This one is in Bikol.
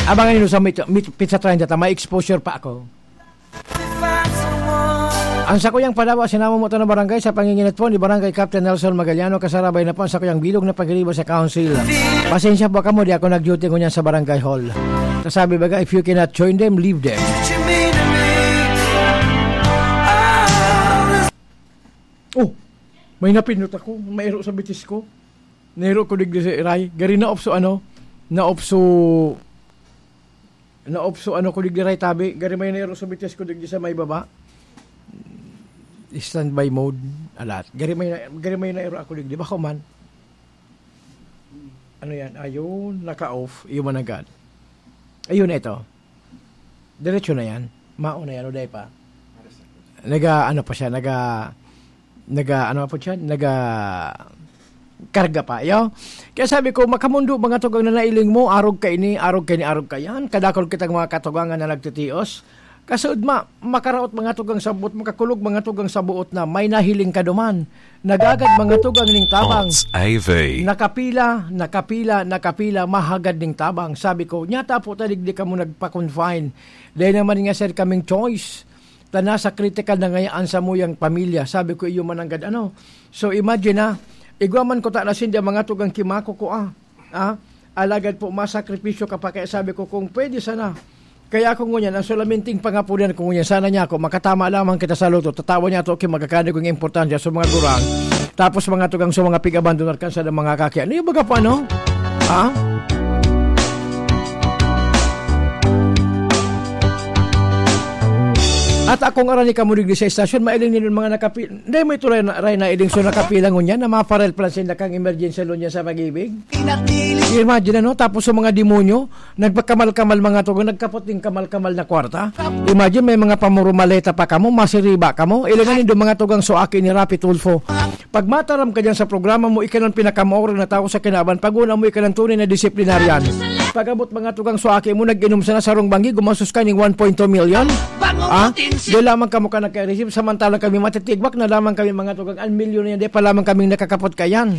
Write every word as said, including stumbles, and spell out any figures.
Abangan niyo sa mit-, mit-, pizza trend at may exposure pa ako. Ang sakuyang padawa, sinamo mo to na barangay sa panginginit po ni Barangay Captain Nelson Magaliano, kasarabay na po ang sakuyang bilog na pagiriba sa council. Pasensya po kamo, di ako nag-duty ngunyan sa barangay hall. Kasabi baga, if you cannot join them, leave them. Oh, may napindot ako, mairo sa bitis ko. Nairo ko digdi sa iray. Gari naopso ano, naopso, naopso ano ko digdi ray tabi. Gari may nairo sa bitis ko digdi sa may baba. Standby mode, alat. Gari may na-, gari may nairo ako digdi. Bako man. Ano yan? Ayun, naka-off. Iyo man agad. Ayun, ito. Diretso na yan. Mao na yan, uday pa. Naga, ano pa siya, naga, naga, ano pa siya, naga, karga pa, yo? Kaya sabi ko, "Makamundo, mga tugang na nailing mo, arog ka ini, arog ka ini, arog ka yan." Kadakol kitang mga katugangan na nagtitios. Kasud ma, makaraot mga tugang sa buot, makakulog mga tugang sa buot na may nahiling ka duman. Nagagad mga tugang ning tabang. Thoughts A V. Nakapila, nakapila, nakapila, mahagad ning tabang. Sabi ko, "Nyata po ta digdi kamo nagpa-confine. Dahil naman nga, sir, kaming choice. Ta nasa critical na ngayaan sa muyang pamilya." Sabi ko, "Iyo man ang gad-, ano?" So, imagine, ah, igwa man ko ta na sinda mga tugang kimako ko, ah. Ah, alagad po, masakripisyo ka pa. Kaya sabi ko, kung pwede sana. Kaya ako ngunyan, ang sulaminting pangapunan ko ngunyan, sana niya ako, makatama lamang kita sa loto, tatawa niya ato, okay, magkakani kong importansya sa mga gurang. Tapos mga tugang sa mga pig-abandonar kan sa mga kaki. Ano yung baga pa, no? Ha? At akong arani kamo digdi sa estasyon, mailing ninyo mga nakapi-, hindi mo ito ray na, ray na iling so nakapila ngunyan na maparel plan sinda kang emergency loan niya sa pag-ibig. Imagine, ano? Tapos sa mga demonyo, nagpakamal-kamal mga tugang, nagkapot din kamal-kamal na kwarta. Imagine, may mga pamurumaleta pa kamo, masiriba kamo. Ilangan nindo mga tugang so aki ni Rapi Tulfo. Pag mataram ka dyan sa programa mo, ika ng pinakamaorang na tao sa kinaban. Pag una mo, ika ng tunay na disiplinaryan. Pag-abot mga tugang so aki mo, nag-inom sana sarong banggi, gumastos ka ning one point two million. Ah? Di lamang kamo ka nagka-receive, samantalang kami matitigbak na lamang kami mga tugang, ang milyon na yan, di pa lamang kaming nakakapot kayan.